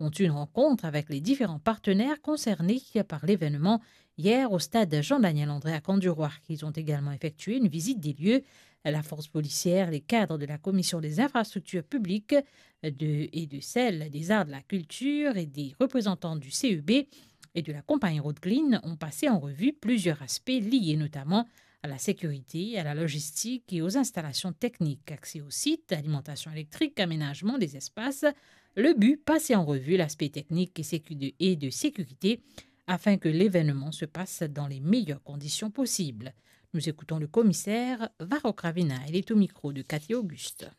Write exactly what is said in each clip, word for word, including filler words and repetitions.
ont eu une rencontre avec les différents partenaires concernés par l'événement hier au stade Jean-Daniel André à Camp-du-Roi. Ils ont également effectué une visite des lieux. La force policière, les cadres de la Commission des infrastructures publiques de, et de celle des arts, de la culture et des représentants du C E B et de la compagnie Road Clean ont passé en revue plusieurs aspects liés notamment à la sécurité, à la logistique et aux installations techniques, accès au site, alimentation électrique, aménagement des espaces. Le but, passer en revue l'aspect technique et sécu-, de, et de sécurité afin que l'événement se passe dans les meilleures conditions possibles. Nous écoutons le commissaire Varro Cravina. Il est au micro de Cathy Auguste.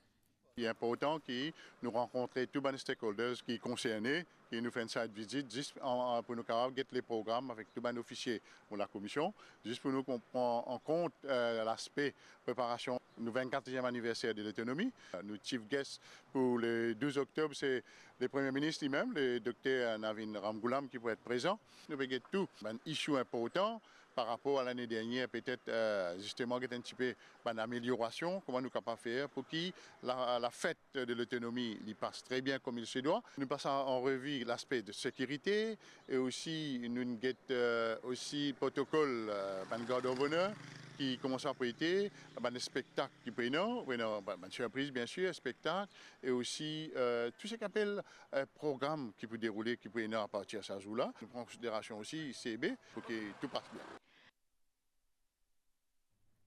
Li inportan ki nou rankontre tou bann stakeholders ki konserne, ki nou fer enn site visit, zis an, an, pou nou kapav get le program avek tou bann ofisie. Bon, lakomision, zis pou nou konpran an kont, eh, laspe preparasion nou vennkatriem aniverser de lotonomi. Eh, nou chief guest pou le douz oktob, se le Premie Minis limem, le Dokter Navin Ramgoolam, ki pou et prezan. Nou pe get tou bann issue inportan par rapor a lane dernier, petet, eh, zisteman, get enn tipe bann ameliorasion, kouma nou kapav fer pou ki la, lafet de lotonomi, li pas tre bien comme il se doit. Nou pas an, an revi laspe de sekirite e osi nou get, eh, osi protokol, eh, bann gard of honor ki koumans ap ete, bann spektak ki pou ena, pou ena bann, bann sirpriz, bien sir, spektak, e osi, eh, tou seki apel, eh, program ki pou deroule, ki pou ena apartir sa zour la. Nou pran an konsiderasion osi C E B pou ki tou pas bien.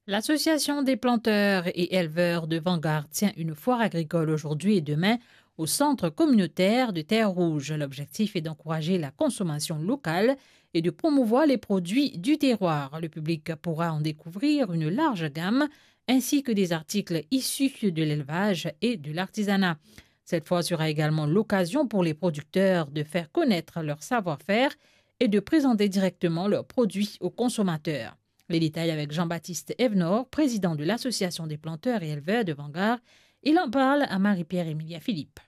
L'association des planteurs et éleveurs de Vanguard tient une foire agricole aujourd'hui et demain au centre communautaire de Terre Rouge. L'objectif est d'encourager la consommation locale et de promouvoir les produits du terroir. Le public pourra en découvrir une large gamme, ainsi que des articles issus de l'élevage et de l'artisanat. Cette foire sera également l'occasion pour les producteurs de faire connaître leur savoir-faire et de présenter directement leurs produits aux consommateurs. Les détails avec Jean-Baptiste Evnor, président de l'Association des planteurs et éleveurs de Vanguard. Il en parle à Marie-Pierre Emilia Philippe.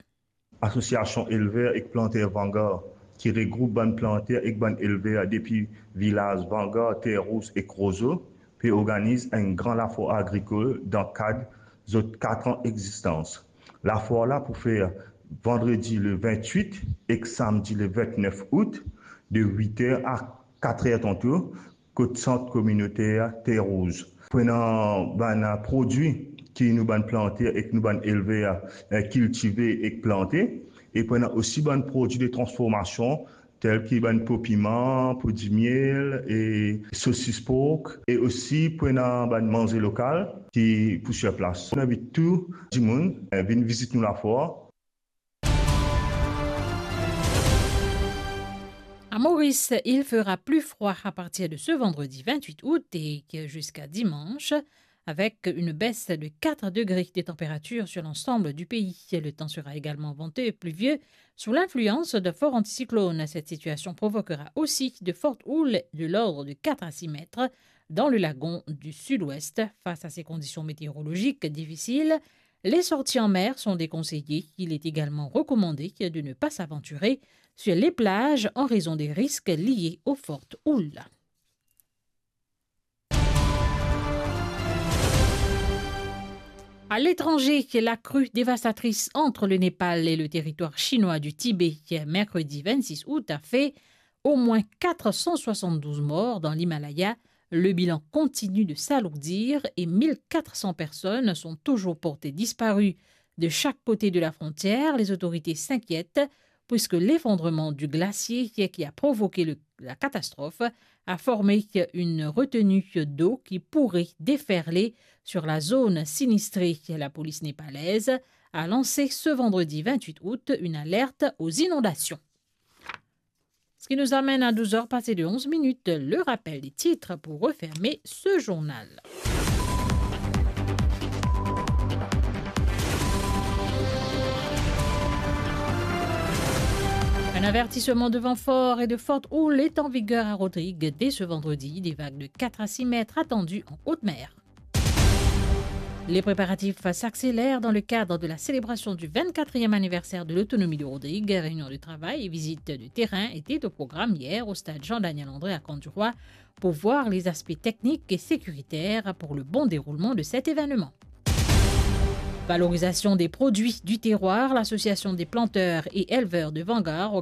Asosiasion Elver ek Planter Vanguard, ki regroup bann planter ek bann elver depi vilaz Vanguard, Terre Rouge ek Roseau, pe organiz enn gran lafwar agrikol dan kad zot kat an egzistans. Lafwar la pou fer vandredi le vintwit ek samdi le vintnef out, de wit er a kat er tanto, kot sant kominoter Terre Rouge. Pou ena bann prodwi ki nou bann planter ek nou bann elver, eh, kiltive ek plante, e pou ena osi bann prodwi de transformasion, tel ki bann po piman, po dimiel e sosis pork, e osi pou ena bann manze lokal ki pou sir plas. Nou invit tou dimoun, eh, vinn vizit nou lafwar. À Maurice, il fera plus froid à partir de ce vendredi vingt-huit août et que jusqu'à dimanche, avec une baisse de quatre degrés de température sur l'ensemble du pays. Le temps sera également venteux et pluvieux sous l'influence d'un fort anticyclone. Cette situation provoquera aussi de fortes houles de l'ordre de quatre à six mètres dans le lagon du sud-ouest. Face à ces conditions météorologiques difficiles, les sorties en mer sont déconseillées. Il est également recommandé de ne pas s'aventurer sur les plages en raison des risques liés aux fortes houles. À l'étranger, la crue dévastatrice entre le Népal et le territoire chinois du Tibet, mercredi vingt-six août, a fait au moins quatre cent soixante-douze morts dans l'Himalaya. Le bilan continue de s'alourdir et mille quatre cents personnes sont toujours portées disparues. De chaque côté de la frontière, les autorités s'inquiètent puisque l'effondrement du glacier qui a provoqué le, la catastrophe a formé une retenue d'eau qui pourrait déferler sur la zone sinistrée. La police népalaise a lancé ce vendredi vingt-huit août une alerte aux inondations. Ce qui nous amène à douze heures passées de onze minutes, le rappel des titres pour refermer ce journal. Un avertissement de vent fort et de forte houle est en vigueur à Rodrigues dès ce vendredi. Des vagues de quatre à six mètres attendues en haute mer. Les préparatifs s'accélèrent dans le cadre de la célébration du vingt-quatrième anniversaire de l'autonomie de Rodrigues. Réunion de travail et visite de terrain étaient au programme hier au stade Jean-Daniel André à Camp-du-Roi pour voir les aspects techniques et sécuritaires pour le bon déroulement de cet événement. Valorisation des produits du terroir, l'Association des planteurs et éleveurs de Vangar